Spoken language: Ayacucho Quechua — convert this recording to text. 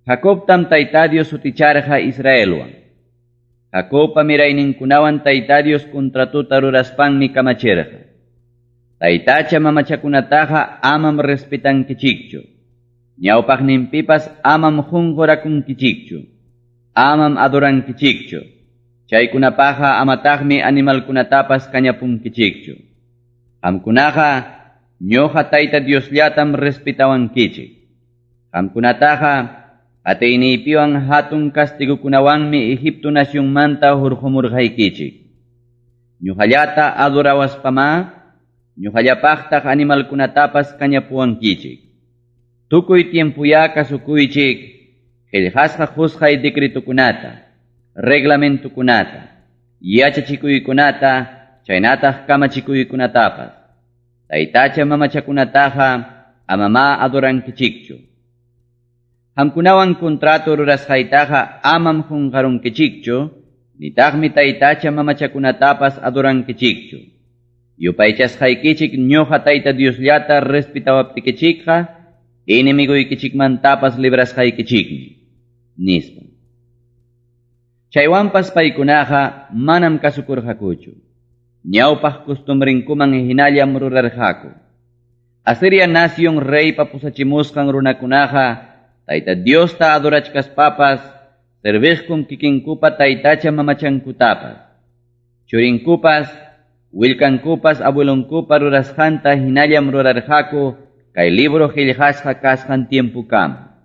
Jacobtam Tayta Dios suticharqa Israelwan. Jacobpa mirayninkunawan Tayta Dios contratota ruraspanmi kamachirqa. Taytacha mamachakunataqa amam respetankichikchu. Ñawpaqninpipas amam qunqurakunkichikchu. Amam adorankichikchu. Chaykunapaqa amataqmi animalkunatapas kañapunkichikchu. Qamkunaqa ñuqa Tayta Diosllatam respetawankichik. Qamkunataqa atiyniypiwan hatun castigukunawanmi Egipto nacionmanta hurqumurqaykichik. Ñuqallata adorawaspamá, ñuqallapaqtaq animalkunatapas kañapuwankichik. Tukuy tiempuyá kasukuychik, qillqasqa qusqay decretokunata, reglamentokunata, yachachikuykunata, chaynataq kamachikuykunatapas. Taytacha mamachakunataqa amamá adorankichikchu. Qamkunawan contrato rurasqaytaqa amam qunqarunkichikchu, nitaqmi taytacha mamachakunatapas adorankichikchu. Yupaychasqaykichik ñuqa Tayta Diosllata respetawaptikichikqa, enemiguykichikmantapas librasqaykichikmi, nispa. Chaywanpas paykunaqa manam kasukurqakuchu. Ñawpaq costumbrenkuman hinallam rurarqaku. Asiria nación reypa pusachimusqan runakunaqa Tayta Diosta adorachkaspapas serviqkun kikinkupa taytacha mamachankutapas. Churinkupas, willkankupas abuelonkupa rurasqanta hinallam rurarqaku kay libro qillqasqa kasqan tiempukama.